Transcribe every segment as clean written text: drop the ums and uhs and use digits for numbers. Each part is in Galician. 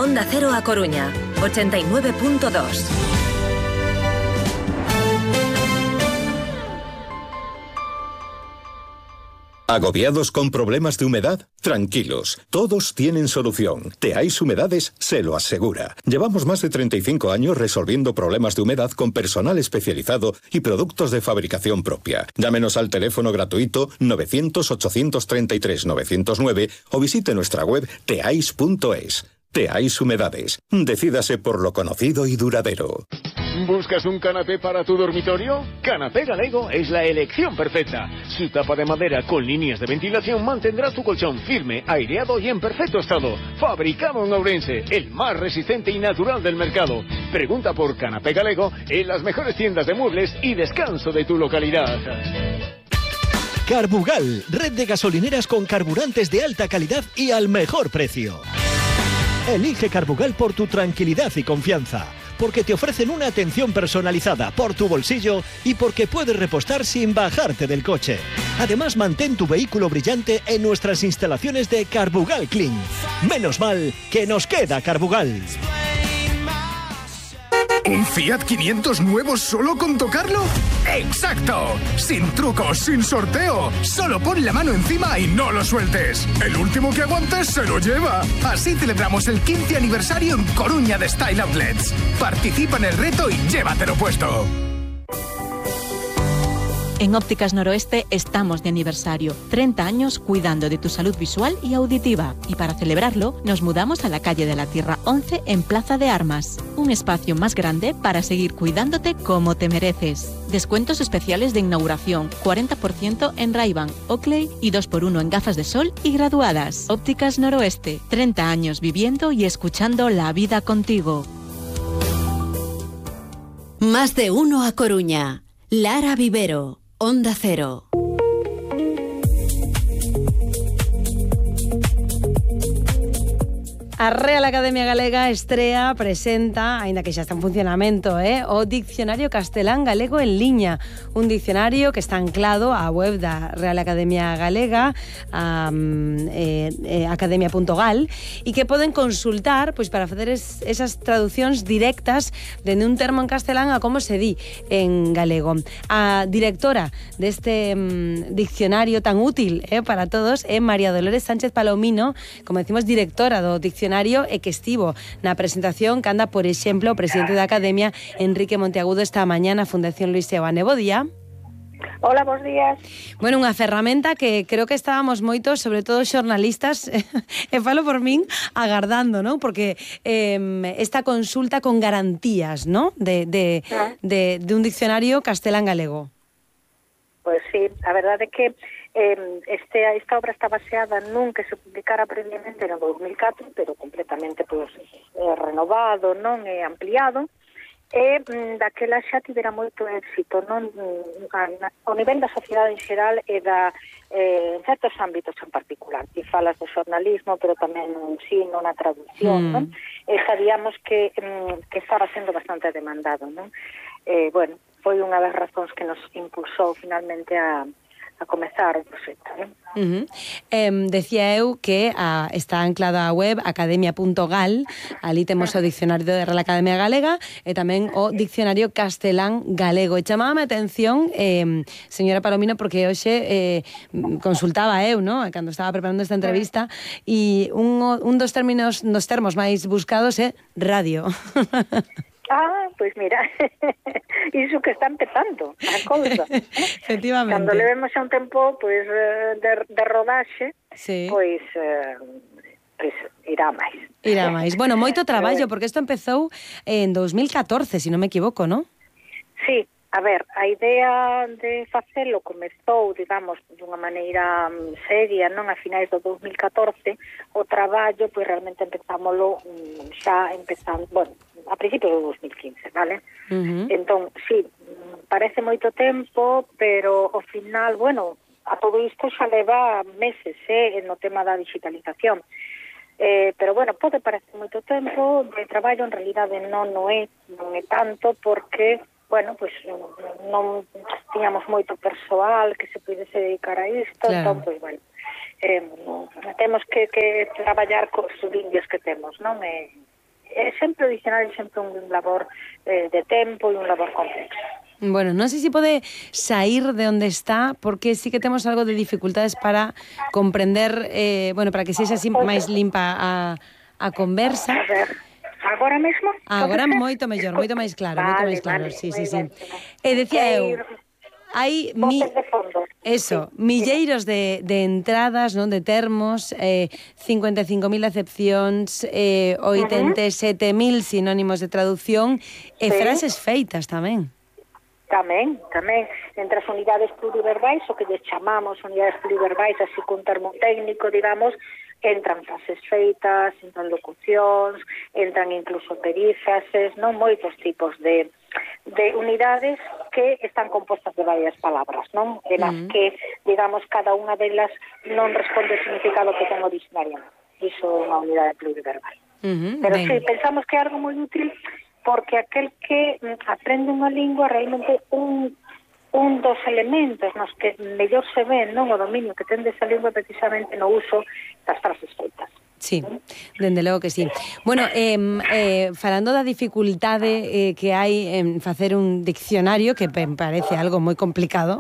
Onda Cero A Coruña, 89.2. ¿Agobiados con problemas de humedad? Tranquilos, todos tienen solución. Teais Humedades se lo asegura. Llevamos más de 35 años resolviendo problemas de humedad con personal especializado y productos de fabricación propia. Llámenos al teléfono gratuito 900-833-909 o visite nuestra web teais.es. Teais Humedades. Decídase por lo conocido y duradero. ¿Buscas un canapé para tu dormitorio? Canapé Galego es la elección perfecta. Su tapa de madera con líneas de ventilación mantendrá tu colchón firme, aireado y en perfecto estado. Fabricado en Ourense, el más resistente y natural del mercado. Pregunta por Canapé Galego en las mejores tiendas de muebles y descanso de tu localidad. Carbugal, red de gasolineras con carburantes de alta calidad y al mejor precio. Elige Carbugal por tu tranquilidad y confianza, porque te ofrecen una atención personalizada por tu bolsillo y porque puedes repostar sin bajarte del coche. Además, mantén tu vehículo brillante en nuestras instalaciones de Carbugal Clean. Menos mal que nos queda Carbugal. ¿Un Fiat 500 nuevo solo con tocarlo? ¡Exacto! Sin trucos, sin sorteo. Solo pon la mano encima y no lo sueltes. El último que aguantes se lo lleva. Así celebramos el 15 aniversario en Coruña de Style Outlets. Participa en el reto y llévatelo puesto. En Ópticas Noroeste estamos de aniversario. 30 años cuidando de tu salud visual y auditiva. Y para celebrarlo, nos mudamos a la calle de la Tierra 11 en Plaza de Armas. Un espacio más grande para seguir cuidándote como te mereces. Descuentos especiales de inauguración, 40% en Ray-Ban, Oakley y 2x1 en gafas de sol y graduadas. Ópticas Noroeste, 30 años viviendo y escuchando la vida contigo. Más de uno a Coruña. Lara Vivero, Onda Cero. A Real Academia Galega estrea, presenta, aínda que xa está en funcionamento, o Dicionario Castelán Galego en liña, un dicionario que está anclado á web da Real Academia Galega, academia.gal, e que poden consultar pois para facer esas traducións directas dende un termo en castelán a como se di en galego. A directora deste diccionario tan útil para todos é María Dolores Sánchez Palomino, como decimos, directora do diccionario, e que estivo na presentación que anda, por exemplo, o presidente da Academia, Enrique Monteagudo, esta mañá na Fundación Luis Seoane. Bo día. Hola, bons días. Bueno, unha ferramenta que creo que estábamos moitos, sobre todo xornalistas, e falo por min, agardando, ¿no? Porque esta consulta con garantías, ¿no? De un diccionario castelán-galego. Pues sí, a verdade é que esta obra está baseada nun que se publicara previamente no 2004, pero completamente renovado, non e ampliado, e daquela xa tivera moito éxito, non ao nivel da sociedade en xeral e en certos ámbitos en particular. E falas do xornalismo, pero tamén no ensino, na traducción, non? E sabíamos que estaba sendo bastante demandado, non? Bueno, foi unha das razóns que nos impulsou finalmente a comezar o proxecto, non? Decía eu que está anclada a web academia.gal, ali temos o dicionario de Real Academia Galega e tamén o dicionario castelán galego. E chamábame a atención, señora Palomino, porque hoxe consultaba eu, ¿no? Cando estaba preparando esta entrevista, e un dos termos máis buscados é radio. Pois mira, iso que está empezando a cousa. Efectivamente. Cando levemos xa un tempo de rodaxe, sí, pois irá máis. Irá máis. Bueno, moito traballo, porque isto empezou en 2014, se non me equivoco, non? Sí, a ver, a idea de facelo comezou, digamos, dunha maneira seria, non a finais do 2014, o traballo, pois realmente empezámoslo xa empezando, bueno, a principios do 2015, vale? Entón, sí, parece moito tempo, pero ao final, bueno, a todo isto xa leva meses, no tema da digitalización. Pero, bueno, pode parecer moito tempo de traballo, en realidade non é tanto, porque, bueno, pues non tiñamos moito persoal que se pudese dedicar a isto, entón, pues, bueno, temos que traballar cos indios que temos, non? sempre o dicionario é sempre un labor de tempo e un labor complexo. Bueno, non sei se pode sair de onde está, porque sí que temos algo de dificultades para comprender, para que sexa así máis limpa a conversa. A ver, agora mesmo? Agora moito mellor, moito máis claro, moito máis claro. Sí. Decía eu, hai milleiros de entradas, non, de termos, 55.000 acepcións, 87.000 sinónimos de traducción e frases feitas tamén. Tamén. Entre as unidades pluriverbais, o que lles chamamos unidades pluriverbais, así cun termo técnico, digamos, entran frases feitas, entran locucións, entran incluso perífrases, non, moitos tipos de unidades que están compostas de varias palabras, non? De las que, digamos, cada unha delas non responde ao significado que ten o diccionario. Iso é unha unidade pluriverbal. Pero sí, pensamos que é algo moi útil porque aquel que aprende unha lingua realmente un dos elementos nos que mellor se ve, non, o dominio que ten desa lingua precisamente no uso das frases feitas. Sí, dende logo que sí. Bueno, falando da dificultade que hai en facer un diccionario, que me parece algo moi complicado,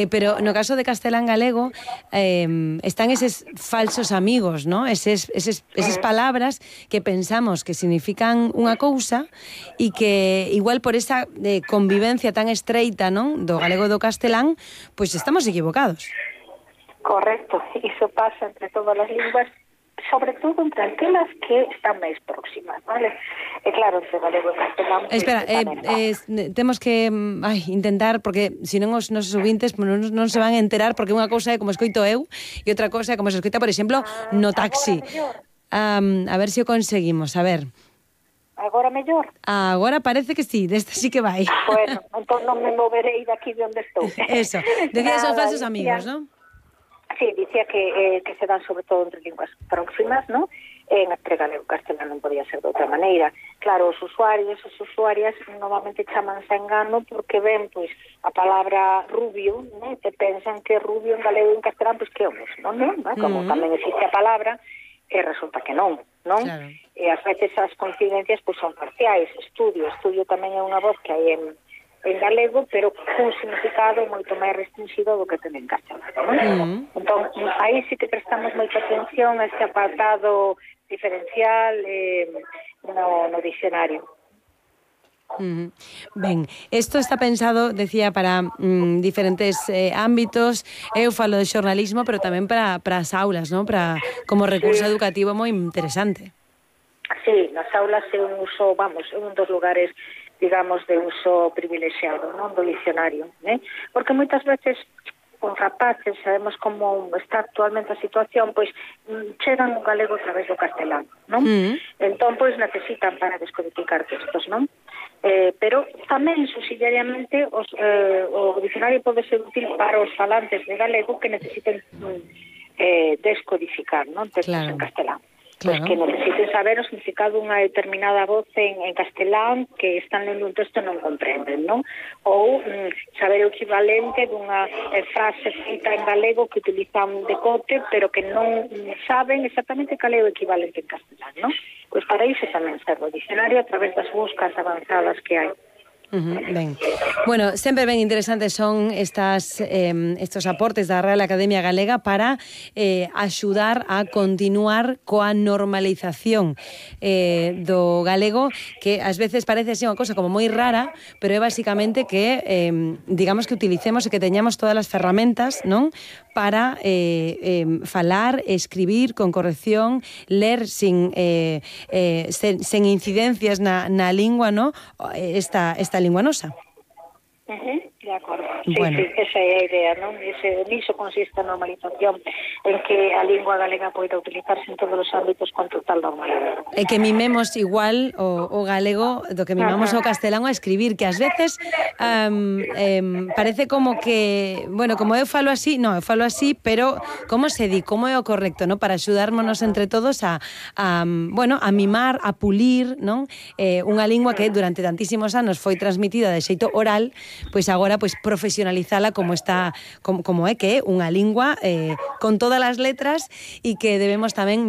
pero no caso de castelán galego están eses falsos amigos, ¿no? Eses palabras que pensamos que significan unha cousa e que igual por esa convivencia tan estreita, non, do galego e do castelán, pois estamos equivocados. Correcto, iso pasa entre todas as linguas, sobre todo entre aquelas que están máis próximas, vale? E claro, entre galego e castelán... Espera, temos que intentar, porque senón os nosos ouvintes non se van a enterar, porque unha cousa é como escoito eu e outra cousa é como se escoita, por exemplo, no taxi. A ver se o conseguimos, a ver. Agora mellor? Agora parece que sí, desta sí que vai. Bueno, entón non me moverei daqui de onde estou. Eso, decías os falsos amigos, non? Sí, dicía que se dan sobre todo entre linguas próximas, ¿no? Entre galego e castelán non podía ser de outra maneira. Claro, os usuarios e as usuarias normalmente chamanse a engano porque ven, pois, a palabra rubio, ¿no? E pensan que rubio en galego e en castelán, pois, que é o mesmo, ¿no? Como tamén existe a palabra, e resulta que non, non? Claro. E ás veces as coincidencias, pois, son parciais. Estudio tamén é unha voz que hai en galego, pero cun significado moito máis restringido do que ten en castelán, non? Entón, aí sí que prestamos moita atención a este apartado diferencial no dicionario. Ben, isto está pensado, decía, para diferentes ámbitos. Eu falo de xornalismo, pero tamén para as aulas, non? Como recurso educativo moi interesante. Sí, nas aulas é un uso, é un dos lugares, digamos, de uso privilexiado, non, do dicionario, porque moitas veces os rapaces, sabemos como está actualmente a situación, pois chegan o galego a través do castelán, non? Entón, pois necesitan para descodificar textos, non? Pero tamén, subsidiariamente, o dicionario pode ser útil para os falantes de galego que necesiten descodificar, non, textos en castelán. Pues que necesiten saber o significado dunha determinada voz en castelán que están lendo un texto e non comprenden, non? Ou saber o equivalente dunha frase feita en galego que utilizan de cote, pero que non saben exactamente cal é o equivalente en castelán, non? Pois para iso tamén serve o dicionario a través das buscas avanzadas que hai. Ben. Bueno, sempre ben interesantes son estos aportes da Real Academia Galega para axudar a continuar coa normalización do galego, que ás veces parece así unha cosa como moi rara, pero é basicamente que digamos que utilicemos e que teñamos todas as ferramentas, non, para falar, escribir con corrección, ler sen incidencias na lingua, no? Esta lingua nosa. De acordo. Sí, bueno. Sí, esa é a idea, non? Niso consiste a normalización, en que a lingua galega poida utilizarse en todos os ámbitos con total normalidade. E que mimemos igual o galego do que mimamos o castelán a escribir, que ás veces parece como que, bueno, como eu falo así, eu falo así, pero como se di, como é o correcto, non? Para axudármonos entre todos a mimar, a pulir, non? Unha lingua que durante tantísimos anos foi transmitida de xeito oral, pois agora pois profesionalizala como está, como é que é unha lingua con todas as letras e que debemos tamén